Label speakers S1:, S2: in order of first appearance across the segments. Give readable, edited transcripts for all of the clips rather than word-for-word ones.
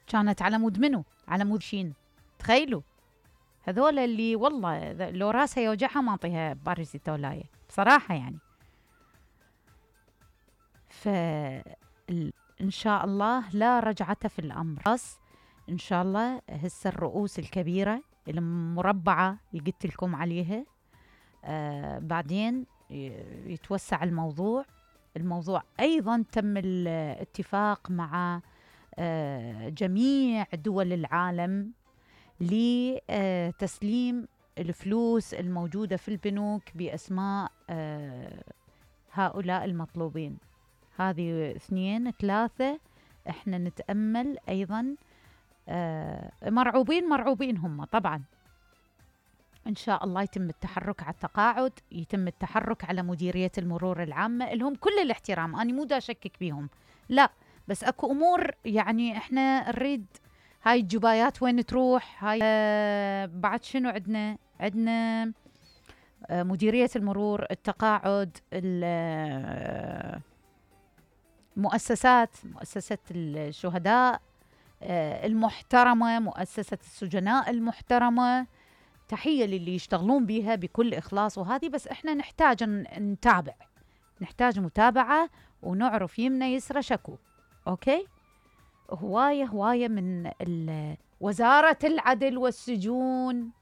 S1: كانت على مود منو؟ على مود شين. تخيلوا هذول اللي والله لو راسها يوجعها ما اعطيها باراسيتولاية بصراحة يعني. إن شاء الله لا رجعة في الأمر. بس إن شاء الله هسه الرؤوس الكبيرة المربعة اللي قلت لكم عليها بعدين يتوسع الموضوع. أيضا تم الاتفاق مع جميع دول العالم لتسليم الفلوس الموجودة في البنوك بأسماء هؤلاء المطلوبين. هذه 2 3 احنا نتأمل أيضا مرعوبين هم طبعا. إن شاء الله يتم التحرك على التقاعد، يتم التحرك على مديرية المرور العامة، لهم كل الاحترام، أنا مو دا أشكك بيهم لا، بس أكو أمور يعني إحنا نريد هاي الجبايات وين تروح. هاي بعد شنو عندنا مديرية المرور، التقاعد، مؤسسة الشهداء المحترمة، مؤسسة السجناء المحترمة، تحية للي يشتغلون بيها بكل إخلاص. وهذه بس إحنا نحتاج نتابع، نحتاج متابعة ونعرف يمنا يسرى شكو. أوكي، هواية من وزارة العدل والسجون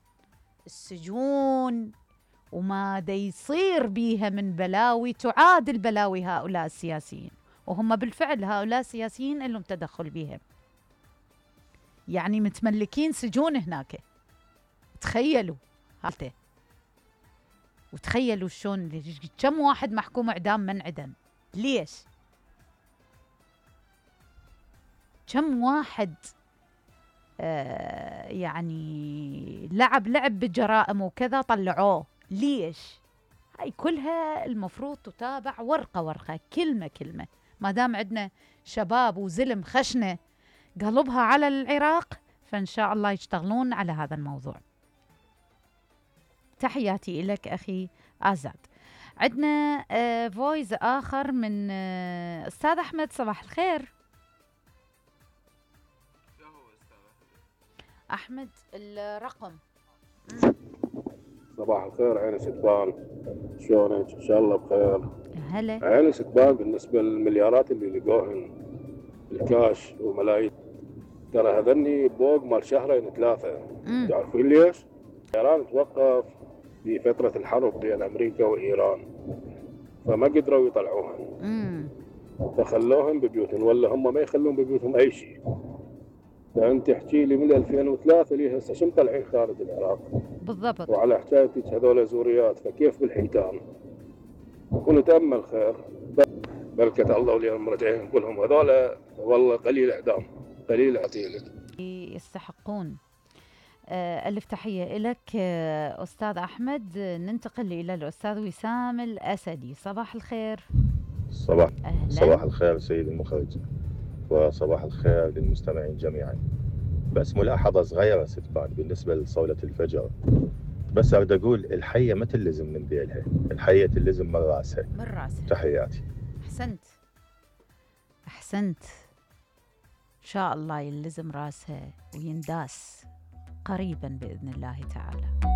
S1: وما دا يصير بيها من بلاوي تعادل بلاوي هؤلاء السياسيين، وهم بالفعل هؤلاء السياسيين اللي تدخل بيهم، يعني متملكين سجون هناك. تخيلوا هالته، وتخيلوا شلون كم واحد محكوم اعدام منعدم. ليش؟ كم واحد يعني لعب بالجرائم وكذا طلعوه. ليش؟ هاي كلها المفروض تتابع ورقة كلمة. ما دام عندنا شباب وزلم خشنة قلبها على العراق، فإن شاء الله يشتغلون على هذا الموضوع. تحياتي لك أخي آزاد. عندنا فويس آخر من أستاذ أحمد. صباح الخير أحمد. الرقم.
S2: صباح الخير عين ستبان، شلونك؟ إن شاء الله بخير.
S1: هلا
S2: عين ستبان، بالنسبة للمليارات اللي لقوهن بالكاش وملايين، ترى هذني بوق مال 2-3. تعرفين ليش؟ إيران توقف في فترة الحرب بين أمريكا وإيران، فما قدروا يطلعوهن، فخلوهم ببيوتهم، ولا هم ما يخلون ببيوتهم أي شيء. فأنت احكي لي من 2003 ليه هسه شو مطلعين خارج العراق؟
S1: بالضبط.
S2: وعلى حكايتك هذول زوريات، فكيف بالحيتان؟ ونتأمل خير، بركة الله واليوم مرجعين كلهم هذول والله قليل إعدام، قليل عتيلك
S1: يستحقون. ألف تحية لك أستاذ أحمد. ننتقل إلى الأستاذ وسام الأسدي. صباح الخير.
S3: صباح الخير سيد المخرج، وصباح الخير للمستمعين جميعا. بس ملاحظة صغيرة ستبان بالنسبة لصولة الفجر، بس أريد أقول الحية ما تلزم من ذيلها، الحية تلزم من راسها. تحياتي.
S1: أحسنت. إن شاء الله يلزم راسها وينداس قريبا بإذن الله تعالى.